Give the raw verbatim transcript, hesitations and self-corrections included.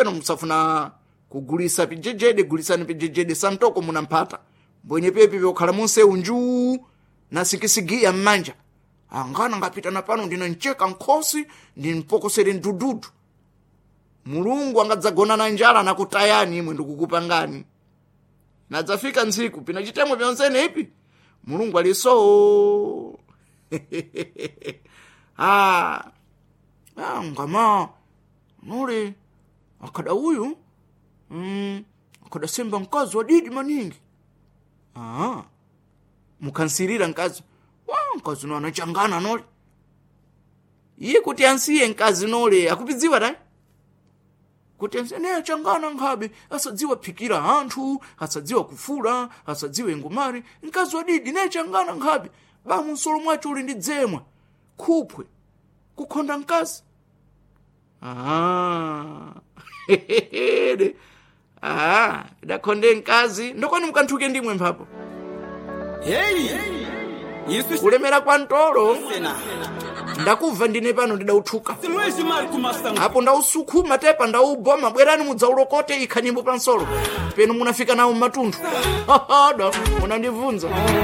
Peno musafuna kugulisa pijejede, gulisani pijejede santoko munamphata mbwenye pepi vyokhala munsewu njuu na sikisigiya mmanja. Angana ngapita na pano ndinancheka nkhosi ndimpokosere mdududu. Mulungu angadzagona na njala nakutayani imwe ndikukupangani. Nadzafika ntsiku pina chitemwe pyonsene ipi Mulungu aliso. ah, ah, ngama nule akada uyu mm, akadasemba mkazi wadidi maningi. Ah, mukansirira mkazi wa mkazi no anachangana nole iye kuti ansiye mkazi nole akupidziwa dai kuti ansiye ne achangana nkhabe asadziwa phikira anthu, asadziwa kufula, asadziwe ngumari mkazi wadidi ne changana nkhabe bamu nsolo mwacho uli ndi dzemwa khuphwe kukhonda mkazi. Ah. Ah, dakhonde mkazi ndokoni mukanthuke ndimwe mphapo. Heyi, isu kulemera kwa mtolo sena ndakubva ndine pano ndidauthuka Luiz Marco Massango apo ndausukhuma tepa ndauboma bwerani mudzaulokote ikha nyimbo pansolo peno munafika nawo mmatundu. Da munandibvunza.